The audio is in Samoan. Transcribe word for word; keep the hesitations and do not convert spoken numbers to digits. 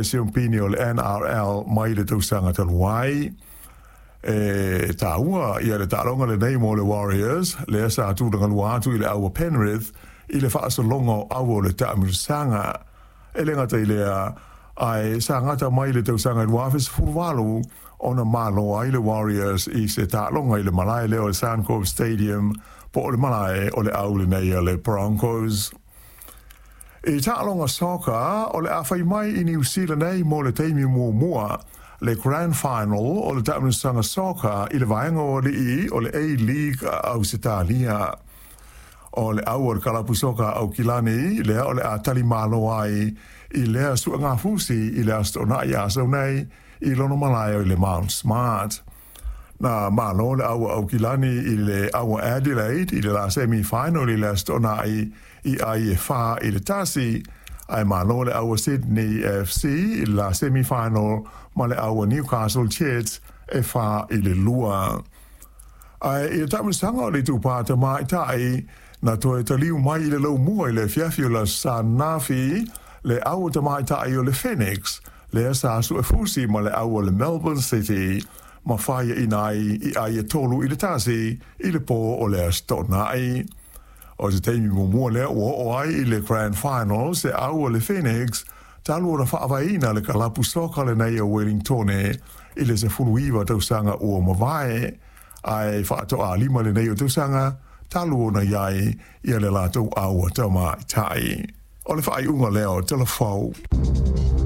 Siumpini o le N R L mai le tausaga talu ai. E tāua ia le taaloga lenei mo le Warriors, lea sa tulagalua atu i le au o Penrith i le faasologa o au o le taamilosaga. E le gata i lea, ae sa gata mai le tausaga i lua afe sefulu valu ona malo ai le Warriors i se taaloga i le malae lea o le Suncorp Stadium po o le malae o le au lenei a le Broncos. I taaloga soka o le a fai mai i New Zealand nei mo le taimi muamua le Grand Final o le taamilosaga soka i le vaega o alii o le A-League a Ausetalia. O le au o le kalapu soka Aukilani lea o le a tali malo ai i lea suagafusi i le aso Toonai a sau nei i lona malae o i le Mount Smart. Na malo le au Aukilani i le au Adelaide i le la semi-final i le aso Toonai i ai e wha i le tasi, ai malo le au Sydney F C i le la semi-final ma le au Newcastle Jets e wha i le lua. Ai i le taamilosaga o le itupa tamaitai na toe taliu mai i le laumua i le fiafi o la Sanafi le au tamaitai o le Phoenix, lea sa suefusi ma le au o le Melbourne City, ma whaia inai i ai e tolu i le tasi i le pō o le aso Toonai. O se taimi muamua lea ua oo ai i le Grand Final se au o le Phoenix, talu ona faavaeina le kalapu soka lenei o Wellingtone i le sefulu iwa tausaga ua mavae, ae faatoa lima lenei o tausaga talu ona iai ia le latou au tamaitai. O le faaiuga lea o Talafou.